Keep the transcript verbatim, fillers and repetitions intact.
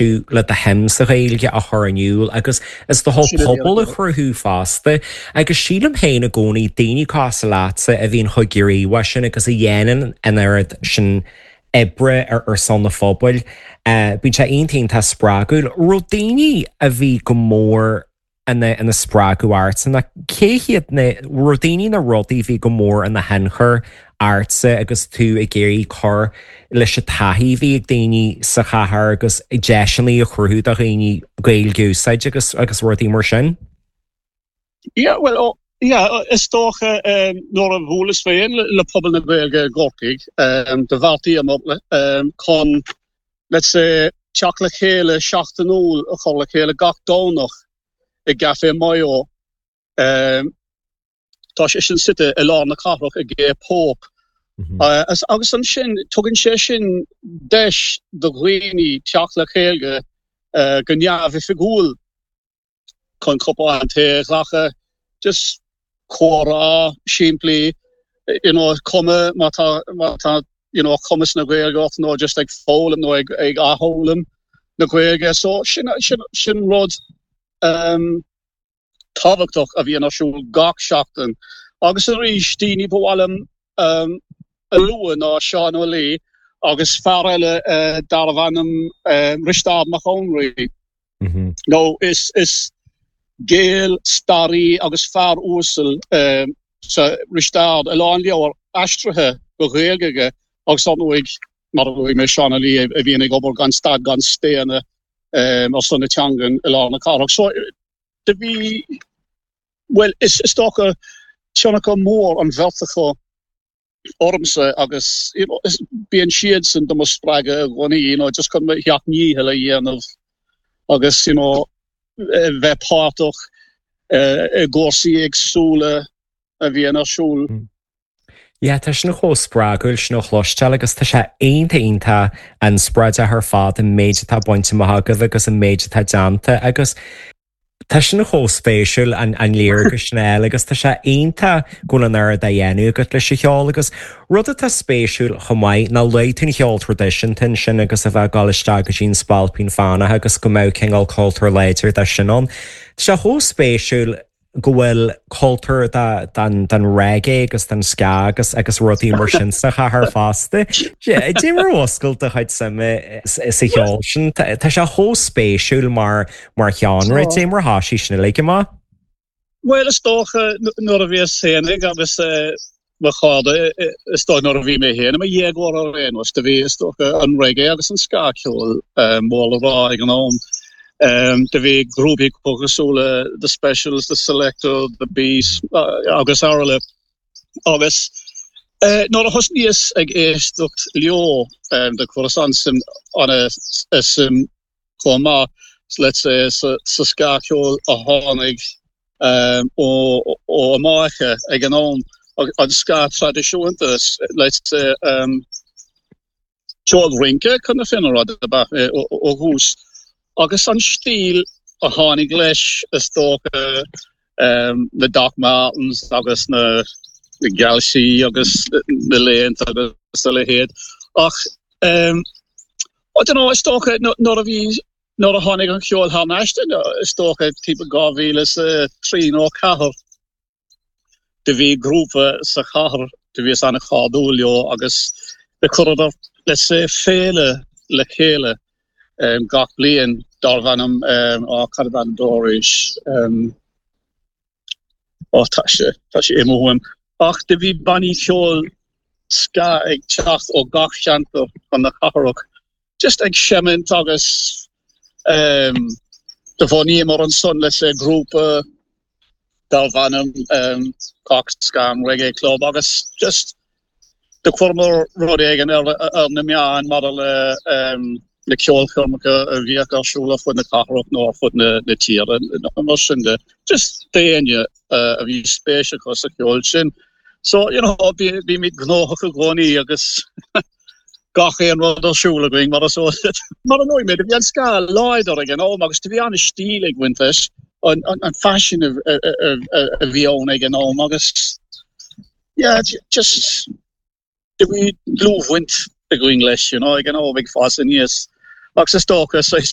le do shuim sa Ghaeilge a chur in iúl agus is do pobal a chruthú fosta, agus sílim féin i gcónaí daoine cosúil leatsa a bhíonn chomh gníomhach sin agus a dhéanann an oiread sin oibre ar ar son na phobail. Uh, Bíonn sé iontach spreagúil, raibh daoine a bhí go mór ina ina spreagadh ortsa na cé hiad na raibh daoine na rudaí bhí go mór ina thionchar ortsa agus tú ag iarraidh cur leis an taithí bhí ag daoine sa chathair agus deiseanna a chruthú do dhaoine Gaeilge a úsáid agus agus rudaí mar sin? Yeah, well, oh, yeah, is dócha um, nuair a bhuaileas féin le, le pobal na Gaeilge i gCorcaigh um, do bheartaíomar um, chun let's say teacht le chéile seachtainiúil a chur le chéile gach Domhnach i gCafé Mayo. Um, tá sé sin suite i lár na cathrach i gCé Póp. Mm -hmm. uh, agus ansin tugann sé sin deis do dhaoine teacht le chéile uh, go neamhoifigiúil chun cupán tae a ghlacadh just comhrá simplí you know, cuma má tá má tá you know, cumas na Gaeilge nó just ag foghlaim nó ag ag athfhoghlaim na Gaeilge so sin sin sin rud um, tábhachtach a bhíonn ar siúl gach seachtain. Agus arís daoine ba mhaith liom um, a lua ná Seán Ó Laoi agus fear eile uh, darbh ainm uh, Risteard Mac Conraoi. Mm -hmm. No is is Gael staraí agus fear uasal um, sa Risteard a lán leabhar aistrithe go Gaeilge aige agus nuair mar a luaigh mé Seán Ó Laoi a bhíonn ag obair gan stad gan staonadh um, ar son na teangan i lár na cathrach. So do bhí well is is dócha tionchar mór an bheirt acu ormsa agus you know, bíonn siad sin do mo spreagadh i gcónaí you know, just chun mo sheacht ndícheall a dhéanamh agus you know, bheith páirteach uh, i gcúrsaí éagsúla a bhíonn ar siúl. Mm. Yeah, tá sin chomh spreagúil sin a chloisteáil agus tá sé iontach iontach inspioráideach ar fad an méid atá bainte amach agaibh agus an méid atá déanta agus tá sin chomh spéisiúil an an léargas sin eile agus tá sé iontach go bhfuil an oiread á dhéanamh agat leis an cheol agus rud atá spéisiúil chomh maith ná luaigh tú an cheol traidisiúnta sin agus a bheith ag dul isteach go dtí an Spailpín Fánach agus go mbeadh cineál cultúr láidir de sin ann. Tá sé chomh spéisiúil go bhfuil cultúr den den reggae agus den ska agus agus rudaí mar sin sa chathair fosta. Cad é mar oscail do chuid suime sa cheol sin Tá sé chomh spéisiúil mar mar sheánra cad é mar thosaigh sin le amach? Well is dócha nuair a bhíos féinig agus mo chairde is dóigh nuair a bhí mé féin i mo dhéagóir ar aon nós do bhí is dócha an reggae agus an ska-cheol mór le rá ag an am. Um, do bhí grúpaí cosúil le The Specials, The Selecter, The Beast uh, agus araile. Agus uh, nuair a thosnaíos ag éisteacht leo um, do chuireas an-suim an-suim chomh maith let's say sa, sa ska-cheol a tháinig um, ó, ó Iamáice ag an am an ska traidisiúnta let's say um, ceol rince chun na fírinne a rá ó thús. Agus an stíl a tháinig leis is dócha um, na Doc Martens agus na, na geansaithe agus na léinte agus a leithéid. Ach um, I don't know, is dócha nuair a bhí nuair a tháinig an ceol thar n-ais is dócha timpeall dhá mhíle sa trí nó ceathair do bhí grúpa sa chathair do bhíos an-chairdiúil leo agus do chuireadar let's say féile le chéile um, gach bliain darbh ainm um, á cad an dóris um, ó tá sé tá sé imithe uaim. Ach do bhí bannaí ceol ska ag teacht ó gach ceantar chun na cathrach. Just ag seimint agus um, do bhunaíomar ansan let's say grúpa darbh ainm um, Cork Ska and Reggae Club agus just do chuireamar rud éigin ar, ar na meáin mar le um, na ceolchoirmeacha a bhíodh ar siúl ar fud na cathrach nó ar fud na, na tíre mar sin de. Just daoine uh, a bhí spéis acu sa cheol sin. So you know, bímid gnóthach i gcónaí agus gach aon rud ar siúl againn mar so mar an mé bhí an ska láidir ag an am agus bhí an stíl ag baint leis an, an, an fashion a, a, a, a, a bhí ann ag an am agus yeah, just bhí dlúthbhaint againn leis you know, ag an am ag fás aníos. Agus is dócha so is